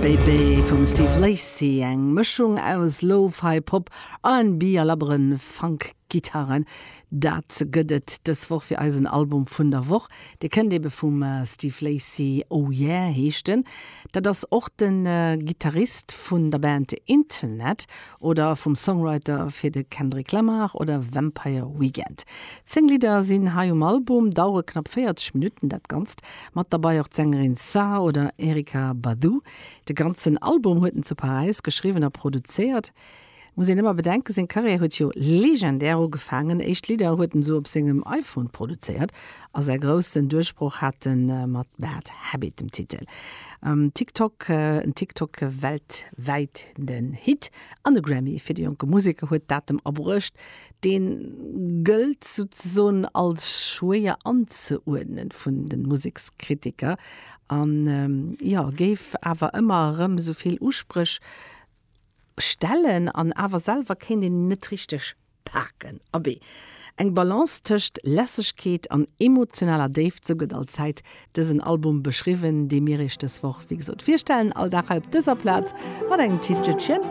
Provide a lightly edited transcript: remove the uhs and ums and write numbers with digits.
Baby vum Steve Lacy, eng Mëschung aus Lo-Fi Pop, R&B a labbere Funk-Gitarren. Dat gëtt et dës Woch fir eisen Album vun der Woch. Dee kënnt ebe vum Steve Lacy, Oh Yeah heescht en. Dat ass och de Gittarist vun der Band Internet oder vum Songwriter fir de Kendrick Lamar oder Vampire Weekend. 10 Lidder sinn hei um Album, dauere knapp 40 Minutten dat Ganzt. Mat derbei och d'Sängerin Tha oder Erykah Badu. De ganzen Album huet en zu Paräis geschriwwen a produzéiert. Muss een ëmmer bedenken, seng Karriär huet jo legendär ugefaangen. Éischt Lidder huet en esou op sengem iPhone produzéiert a säi groussen Duerchbroch hat en mat Bad Habit, dem Titel TikTok, en TikTok weltwäit den Hit an e Grammy fir de jonke Museker huet dat em abruecht. Deen gëllt souzesoen als schwéier anzeuerdnen vun de Musekskritiker an jo géif awer ëmmer erëm esou vill Uspréch stellen an awer selwer kéint een en net richteg paken. Abee, eng Balance tëscht Lässegkeet an emotionaler Déift, sou gëtt allzäit dësen Album beschriwwen, dee mir iech dës Woch wéi gesot virstellen, all Dag hei op dëser Plaz mat engem Titelchen.